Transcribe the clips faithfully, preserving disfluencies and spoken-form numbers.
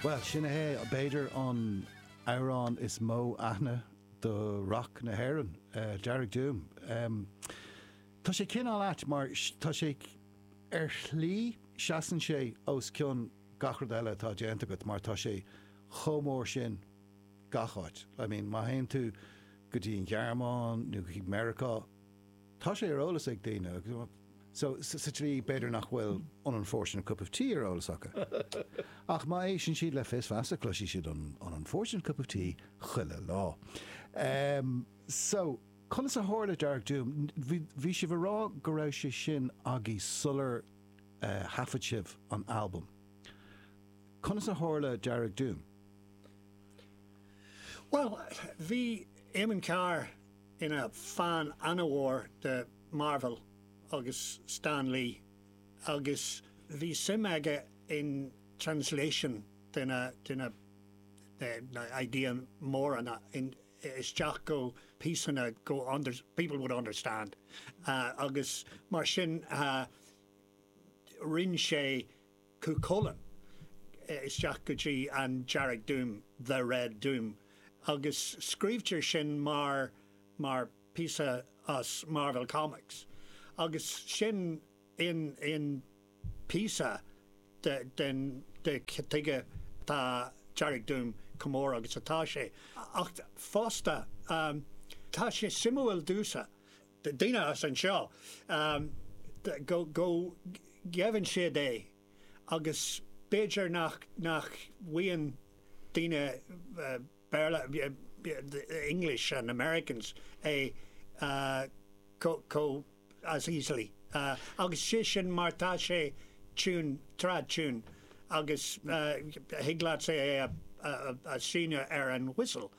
Well, sin é b'fhéidir an amhrán is mó aithne do rock na hÉireann, uh, Dearg Doom. Um, tá sé cineál ait mar tá sé ar shlí seasann sé os cionn gach rud eile atá déanta agat mar tá sé chomh mór sin gach áit. I mean, má théann tú go dtí an Ghearmáin nó go Meiriceá, tá sé ar eolas ag daoine. So sa tslí b'fhéidir nach bhfuil an Unfortunate Cup of Tea ar eolas acu. Ach má éisteann siad le Fios Feasa cloisfidh siad an an Unfortunate Cup of Tea chuile lá. Um, so, conas a tharla Dearg Doom, bhí sibh ag rá go raibh sé sin agaibh sular uh, thaifead sibh an album. Conas a tharla Dearg Doom? Well, bhí Eamon Carr ina fan an-mhór de Marvel agus Stan Lee agus bhí suim aige in translation de na de na de na idea móra in isteach go píosanna go under, people would understand uh, agus mar sin uh, rinne sé Cú Chulainn isteach go dtí an Dearg Doom, the Red Doom agus scríobhtar sin mar mar píosa as Marvel Comics. Agus sin in in píosa de den de tuige tá Dearg Doom chomh mór agus atá sé. Ach fosta um, tá sé suimiúil domhsa daoine as anseo um, go go gheibheann siad é agus b'fhéidir nach nach bhfaigheann daoine uh, Béarla the English and Americans é uh, co, co as easily. Uh, agus sé sin mar tá sé tune trad tune agus uh, thig leat sé é a, a, a sheinm ar an whistle.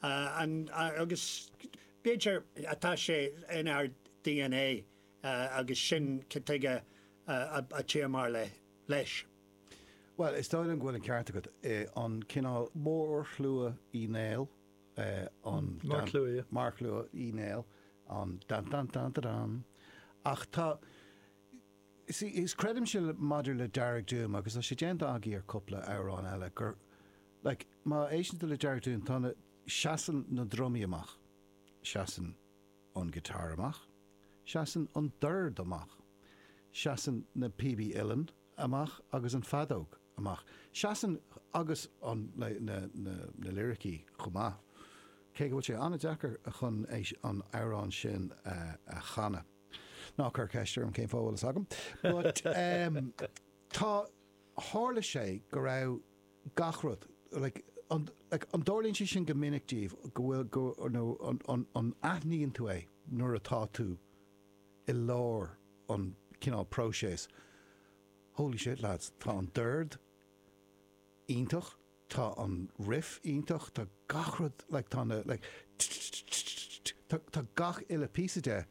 Uh, and, uh, agus b'fhéidir atá sé in ár DNA uh, agus sin tuige uh, a, a téamar le leis. Well, is dóigh liom go bhfuil an ceart agat an cineál Mórshluagh Uí Néill an Marcshlua Marcshlua Uí Néill an dan dan dan dan dan. Ach tá is creidimse maidir le Dearg Doom agus tá sé déanta agaibh ar cúpla amhrán eile gur like, má éisteann tú le Dearg Doom tá seasann na drumaí amach, seasann an guitar amach, seasann an dord amach, seasann na píobaí uilleann amach agus an feadóg amach. Seasann agus an na, na, na, na liricí chomh maith. Cé go bhfuil sé an-deacair chun an amhrán sin uh, a chanadh. Ná cuir ceist orm cén fáth agam. But um, tá tharla sé go raibh gach rud like, an, like, an dtarlaíonn sé sin go minic daoibh go bhfuil go nó an, an, an aithníonn tú é nuair atá tú i lár an cineál próiseas. Holy shit lads, tá an dord iontach, tá an riff iontach, tá gach rud like, tá na like, tá, tá gach uile píosa de.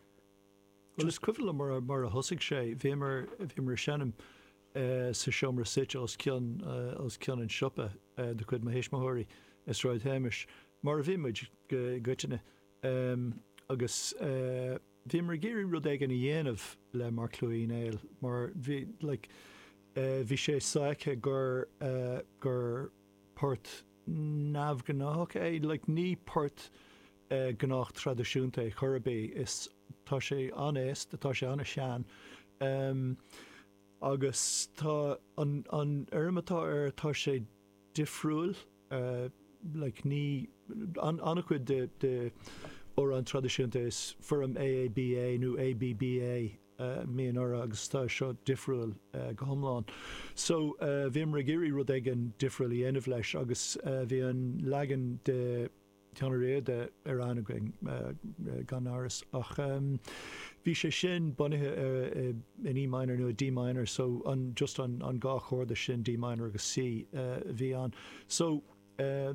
Well is cuimhin liom mar mar a thosaigh sé bhíomar bhíomar seinm uh, sa seomra suite os cionn uh, os cionn an siopa uh, de chuid mo thuismitheoirí i Sráid Shéamais mar a bhí muid go coitianta um, agus uh, bhíomar ag iarraidh rud éigin a dhéanamh le Marcshlua Uí Néill mar bhí like, uh, bhí sé soiléir gur uh, gur port neamhghnách é like, ní port uh, gnách traidisiúnta é chor ar bith is tá sé an-aosta tá sé an-sean um, agus tá an an fhoirm atá air tá sé difriúil uh, like ní an an-chuid de de amhráin traidisiúnta is foirm AABA nó ABBA uh, mí orra agus tá seo difriúil uh, go hiomlán. So uh, bhíomar ag iarraidh rud éigin difriúil a dhéanamh leis agus uh, bhí an leagan de Ceann Riada ar an againn uh, gan amhras ach um, bhí sé sin bunaithe uh, in E minor nó D minor so an just an, an dhá chorda sin D minor agus C uh, bhí an. So uh,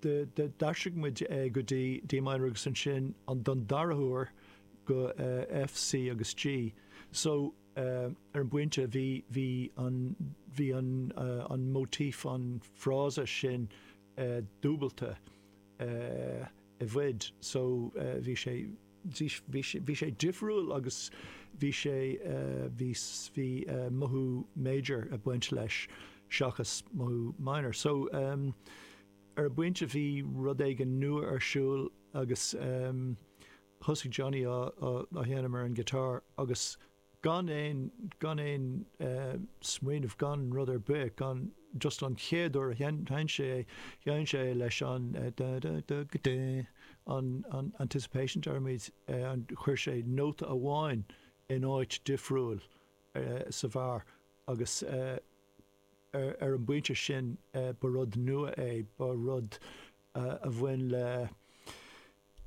de de d'aistrigh muid uh, go dtí D minor agus ansin an don dara huair go uh, F, C agus G. So uh, ar an bpointe bhí bhí an bhí an uh, an motif an frása sin uh, dúbailte uh, i bhfad so uh, bhí sé bhí sé bhí sé difriúil agus bhí sé uh, bhí bhí uh, mothú major ag baint leis seachas mothú minor. So um, ar an bpointe bhí rud éigin nua ar siúl agus um, thosaigh Johnny á, á, á sheinm ar an guitar agus gan aon gan aon uh, smaoineamh gan rud ar bith gan just an chéad uair a sheinn sé sheinn sé leis an uh, da, da, da, da, an, an anticipation deirimid uh, an chuir sé nóta amháin in áit difriúil uh, sa bharr agus uh, ar, ar an bpointe sin uh, ba rud nua é ba rud uh, a bhain le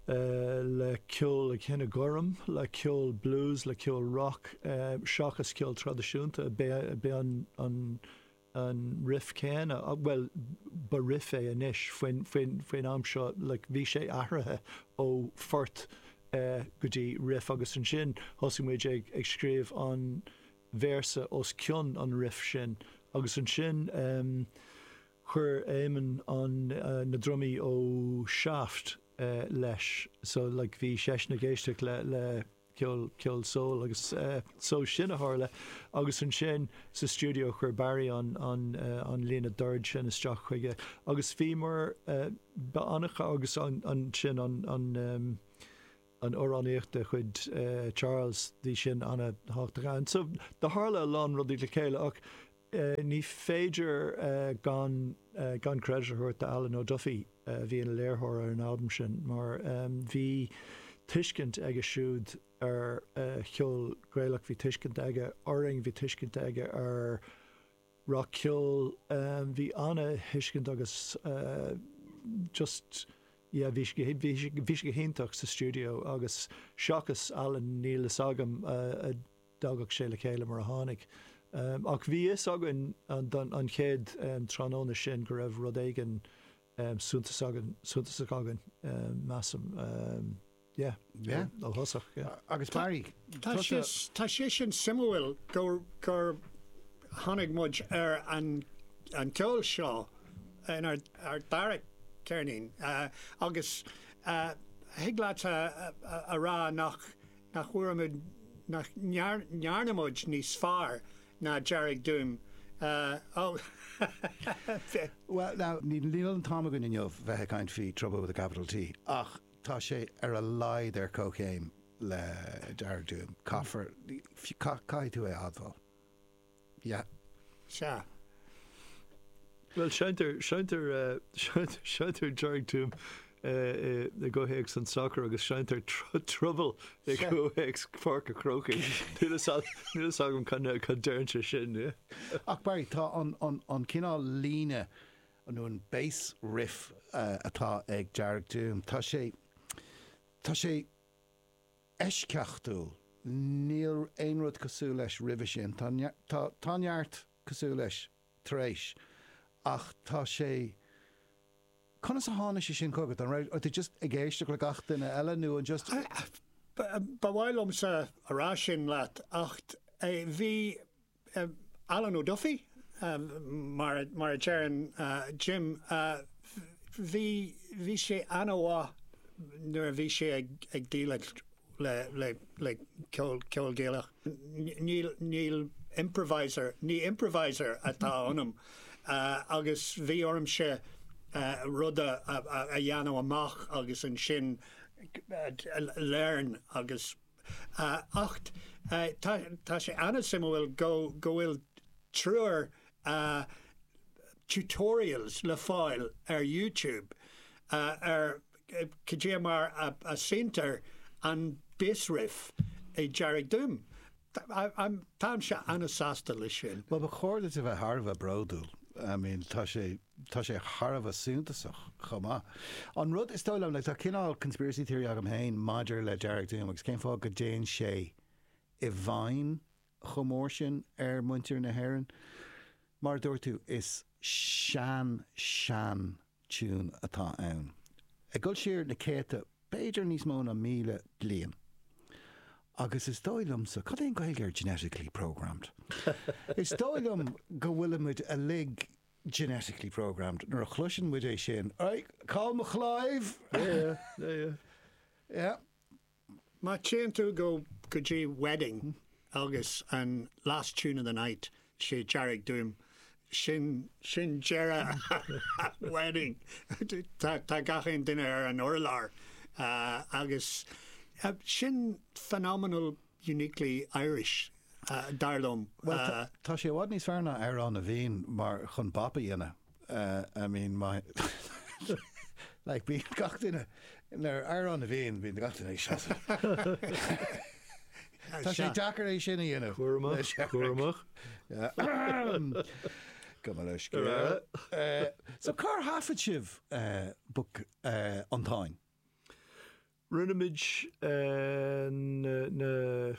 uh, le ceol cine gorm, le ceol blues, le ceol rock, uh, seachas ceol traidisiúnta be, be an, an, an riff céanna, uh, well ba riff é anois faoin, faoin, faoin am seo like, bhí sé athraithe ó phort uh, go dtí riff agus ansin thosaigh muid ag, ag scríobh an véarsa os cionn an riff sin agus ansin um, chuir Éamonn an uh, na drumaí ó Shaft uh, leis so like bhí seisean ag éisteacht le le ceol ceol soul agus uh, so sin a tharla agus ansin sa studio chuir Barry an an uh, an líne dord sin isteach chuige agus bhí mar uh, ba anacha agus an, an sin an an um, an amhránaíocht de chuid uh, Charles bhí sin an-tábhachtach. So do tharla a lán rudaí le chéile ach uh, ní féidir uh, gan uh, gan credit a thabhairt do Alan O'Duffy uh, bhí ina léiritheoir ar an album sin mar um, bhí tuiscint aige siúd ar uh, cheol Gaelach bhí tuiscint aige orainn bhí tuiscint aige ar rockcheol um, bhí an-tuiscint agus uh, just yeah, bhí sé bhí sé bhí sé go hiontach sa studio agus seachas Alan níl fhios agam uh, a dtagadh sé le chéile mar a tháinig. Um, ach bhí fhios againn an, an, an chéad um, tráthnóna sin go raibh rud éigin um, suntasach againn suntasach againn um, measaim um, yeah, Yeah. ó thosach yeah. Agus Barry, Tá sé tá sé sin suimiúil gur gur tháinig muid ar an an ceol seo in ar ar dara ceirnín uh, agus uh, thig leat a, a, a rá nach nach bhfuair nach ndearna muid níos fearr ná Dearg Doom. Uh, oh. Well, now, níl an t-am againn inniu bheith ag caint faoi Trouble with a Capital T, ach tá sé ar a laghad ar comhchéim le Dearg Doom. Caithfear caithfidh tú é a admháil. Yeah. Sea. Well seinntear seinntear uh, seinntear Dearg Doom uh, i gcomhthéacs an soccer agus seinntear Trouble i gcomhthéacs Pháirc an Chrócaigh. Níl fhios agam cad cad deireann sé sin. Yeah. Ach Barry tá an, an, an cineál líne nó an bass riff uh, atá ag Dearg Doom. Tá sé tá sé eisceachtúil. Níl aon rud cosúil leis roimhe sin. Tá, tá, tá neart cosúil leis tar éis. Ach tá sé Conas a tháinig sé sin chugat an raibh tú just ag éisteacht le gach duine eile nó an just Ba mhaith liomsa a rá sin leat ach eh, bhí eh, Alan O'Duffy uh, mar mar a deireann uh, Jim uh, bhí bhí sé an-mhaith nuair a bhí sé ag, ag déileáil le le le ceol ceol Gaelach. Níl níl improviser ní improviser atá ionam uh, agus bhí ormsa uh, rud a, a, a dhéanamh amach agus ansin uh, learn agus uh, ach uh, tá, tá sé an-suimiúil go go bhfuil triúr uh, tutorials le fáil ar YouTube uh, ar cad mar a, a seinntear an bass riff i Dearg Doom. Táimse an-sásta leis sin. Well, ba chóir duit a bheith thar a bheith bródúil. I mean, tá sé tá sé thar a bheith suntasach chomh maith. An rud is dóigh liom, like, tá cineál conspiracy theory agam féin maidir le Dearg Doom agus cén fáth go dtéann sé i bhfeidhm chomh mór sin ar muintir na hÉireann. Mar dúirt tú is sean sean tune atá ann. Ag dul siar na céadta b'fhéidir níos mó ná míle bliain. Agus is dóigh liomsa cad é an Ghaeilge ar genetically programmed. Is dóigh liom go bhfuilimid uilig genetically programmed nuair a chloiseann muid é sin. Right, call mo chláimh! Yeah, yeah, yeah. Yeah. Má téann tú go go dtí wedding agus an last tune of the night sé Dearg Doom Sin sin deireadh wedding. Tá tá gach aon duine ar an urlár uh, agus uh, sin phenomenal uniquely Irish uh, dar liom. Well, uh, tá sé i bhfad níos fearr ná Amhrán na bhFiann mar chun bop a dhéanamh. Uh, I mean my like bíonn gach duine ar Amhrán na bhFiann bíonn gach duine ag seasamh. Tá sé deacair é sin a dhéanamh. Cúramach, cúramach. Go mar leis. So cár thaifead sibh Book an Táin? Rinne muid na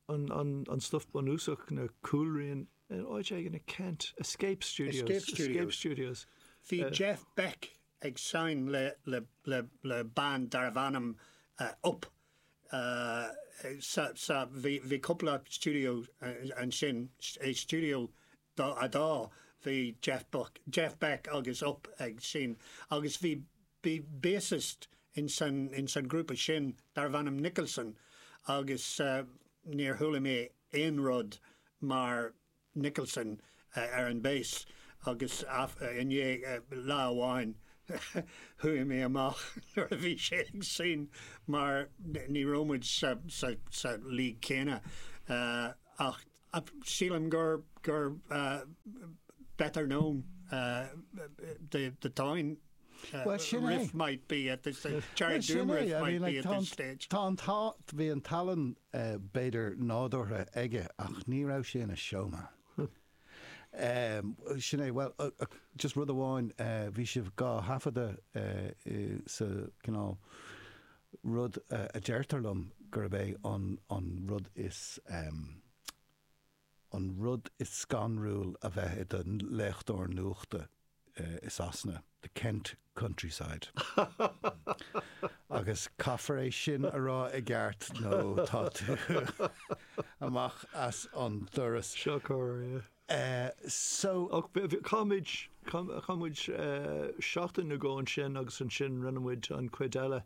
an an stuff bunúsach na cúlrian in áit éigin i Kent, Escape Studios. Escape Studios. Escape Studios. Bhí Jeff Beck ag seinm le, le, le, le band darbh ainm uh, Up. Uh, sa, sa, bhí, bhí cúpla studio uh, ansin, é studio dá, a dá bhí Jeff, Buck, Jeff Beck agus Up ag seinm. Agus bhí, bhí bassist in san, in san grúpa sin darbh ainm Nicholson agus uh, níor chuala mé aon rud mar Nicholson uh, ar an bass agus af, uh, inné uh, lá amháin chuaigh mé amach nuair a bhí sé ag seinm mar ní raibh muid sa, sa, sa league céanna uh, ach sílim gur gur uh, better known uh, the the Táin uh, Well, sin é. riff might be at this uh, Dearg Sin Doom é, riff I might mean, be like, at tá this stage. Tá an tá bhí an tallann uh, b'fhéidir nádúrtha aige ach ní raibh sé ina showman. Um, sin é, well, uh, uh, just rud amháin uh, bhí sibh dhá thaifeadadh uh, uh, sa cineál rud uh, a deirtear liom gurb é an, an rud is um, an rud is scanrúil a bheith i do léachtóir nuachta uh, i Sasana, the Kent countryside. Agus caithfear é sin a rá i gceart nó tá tú amach as an doras. Seo cor, yeah. Uh, so Ach chaith muid chaith muid seachtain nó dhó ansin agus ansin rinne muid an chuid eile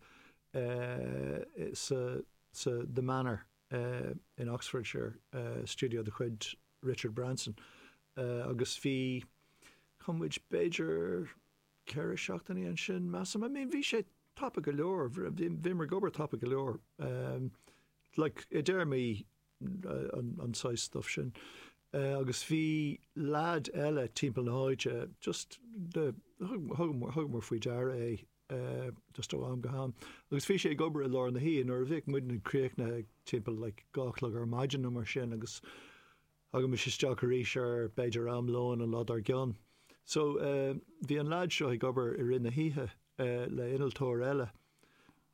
uh, sa, sa The Manor uh, in Oxfordshire uh, studio de chuid Richard Branson uh, agus bhí chaith muid b'fhéidir ceithre seachtainí ansin measaim. I mean bhí sé tapa go leor bhí mar gobar tapa go leor um, like, i dtéarmaí uh, an, an size stuff sin. Uh, agus bhí lad eile timpeall na háite just the thugamar faoi deara é uh, just ó am go ham. Agus bhí sé ag obair i lár na hoíche nuair a bhíodh muid críochnaithe timpeall like, dhá chlog ar maidin nó mar sin agus agus isteach arís ar b'fhéidir am lóin an lá dár gcionn. So uh, bhí an lad seo ag obair i rith na hoíche uh, le innealtóir eile.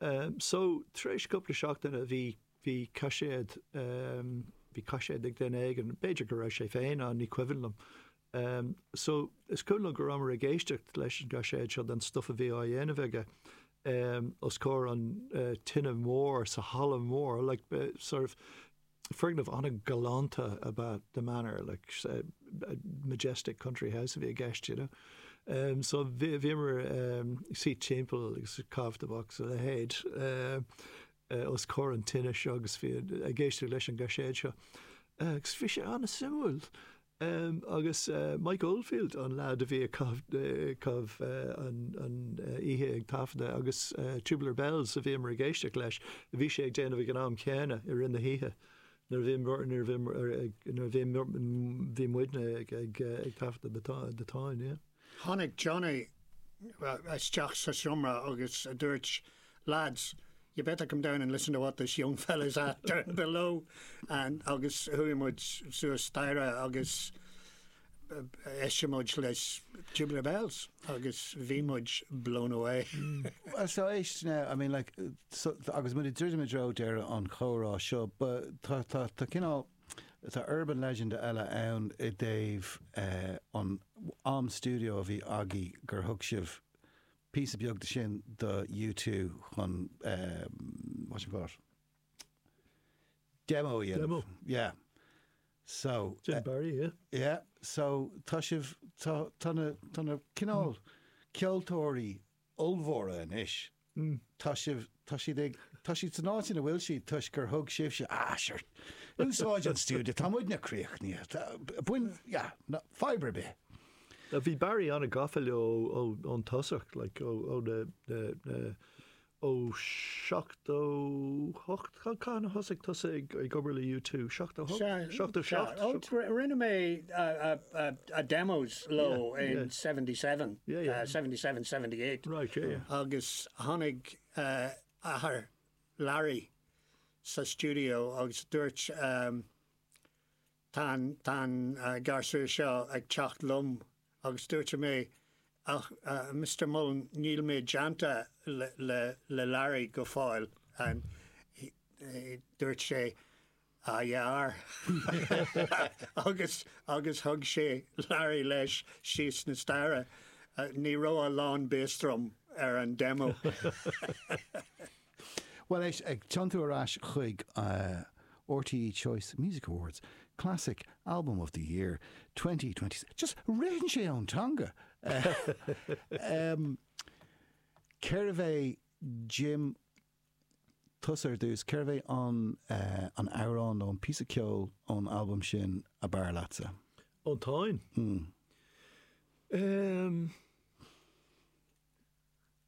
Um, so tar éis cúpla seachtaine bhí bhí caiséad um, bhí caiséad ag duine éigin, b'fhéidir go raibh sé féin an ní cuimhin liom. Um, so is cuimhin liom go rabhamar ag éisteacht leis an gcaiséad seo den stuff a bhí á dhéanamh aige um, os comhair an uh, tine mór sa halla mór, like, uh, sort of foirgneamh an-ghalánta about the manor, like uh, a majestic country house a bhí i gceist, you know. Um, so bhíomar um, suí timpeall agus caitheamh tobac a leithéid uh, uh, os comhair an tine seo agus bhí ag éisteacht leis an gcaiséad seo. Uh, agus bhí sé an-suimiúil. Um, agus uh, Mike Oldfield an lad a bhí cah uh, an, an uh, oíche ag taifeadadh agus uh, Tubular Bells a bhíomar ag éisteacht leis, a bhí sé ag déanamh ag an am céanna i rith na hoíche. Nuair bhí nuair bhí bhí muidne ag ag ag taifeadadh The Táin, yeah. Tháinig Johnny isteach sa seomra agus a dúirt lads, you better come down and listen to what this young fella's at down below and agus chuaigh muid suas staighre agus d'éist muid leis Tubular Bells agus bhí muid blown away. Well, so éist now, I mean, like, so, agus muid ag druidim i dtreo deireadh an chomhrá seo, but tá tá tá cineál tá urban legend eile ann i dtaobh uh, an am studio a bhí agaibh gur thug sibh píosa beag de sin do U two chun um, what you call it? Demo a dhéanamh. Demo. Yeah. So Jim uh, Barry, yeah. yeah, so tá sibh tá tá na tá na cineál ceoltóirí ollmhóra anois. Mm. Tá sibh tá siad ag Tá siad san áit ina bhfuil siad toisc gur thug sibhse, ah, sure, úsáid an stiúideo, tá muidne críochnaithe, tá- bain, yeah, no, fadhb ar bith. Uh, Bhí Barry an-gafa leo ó ón tosach, like, ó ó na na na ó seachtó hocht Cathain a thosaigh tusa ag ag obair le U two seachtó hocht seachtó seacht Oh, rinne mé uh, uh, uh, demos leo Yeah, in yeah. seventy-seven, Yeah, yeah. uh, seventy-seven, seventy-eight. Right, yeah, yeah. Agus tháinig uh, athair Larry sa studio agus dúirt um, tá tá uh, garsúr seo ag teacht liom agus dúirt mé ach uh, Mister Mullen, níl mé déanta le, le, le Larry go fóill and he- he- dúirt sé ah yeah agus agus thug sé Larry leis síos na staighre uh, ní raibh a lán bass drum ar an demo. Well, éist, ag tiontú ar ais chuig uh, R T E Choice Music Awards, Classic Album of the Year twenty twenty. Just ritheann sé ón teanga. Uh, um, Cérbh é, Jim, tusa ar dtús, cérbh é an uh, an amhrán nó an píosa ceoil ón album sin ab fhearr leatsa? Ón Táin. Hmm. Um,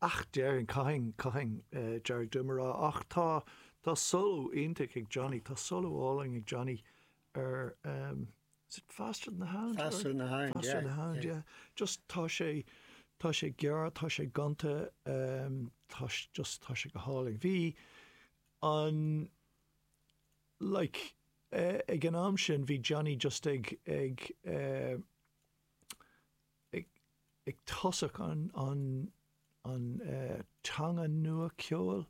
ach déarfainn caithfidh caithfidh uh, Dearg Doom a rá ach tá tá solo iontach ag Johnny, tá solo álainn ag Johnny ar um, is it Faster Than the Hound? Faster Than the Hound, Faster yeah, Than the Hound, yeah. yeah. Just tá sé tá sé gearr, tá sé gonta, um, tá sé- just tá sé go hálainn. Bhí an like uh, ag an am sin bhí Johnny just ag ag uh, ag ag tosach an an an uh, teanga nua ceoil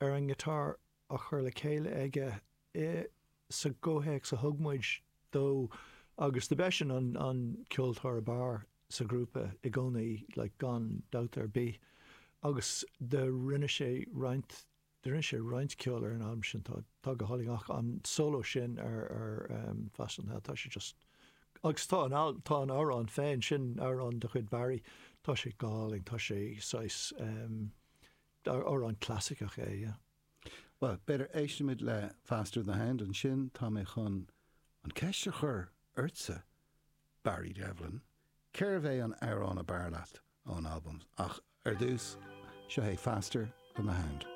ar an guitar a chur le chéile aige i sa gcomhthéacs a thug muid dó agus do b'eisean an an ceoltóir ab fhearr sa grúpa i gcónaí, like, gan dabht ar bith agus do rinne sé roinnt de rinne sé roinnt ceol ar an album sin tá tá go hálainn ach an solo sin ar ar um, Faster Than tá sé just agus tá an al- tá an amhrán féin sin, amhrán de chuid Barry, tá sé go hálainn, tá sé saghas um, amhrán clasaiceach é, yeah. Well, b'fhéidir éistimid le Faster Than the Hound ansin tá mé chun an ceist a chur ortsa, Barry Devlin. Cérbh é an amhrán ab fhearr leat ón album ach ar dtús seo é Faster Than the Hound.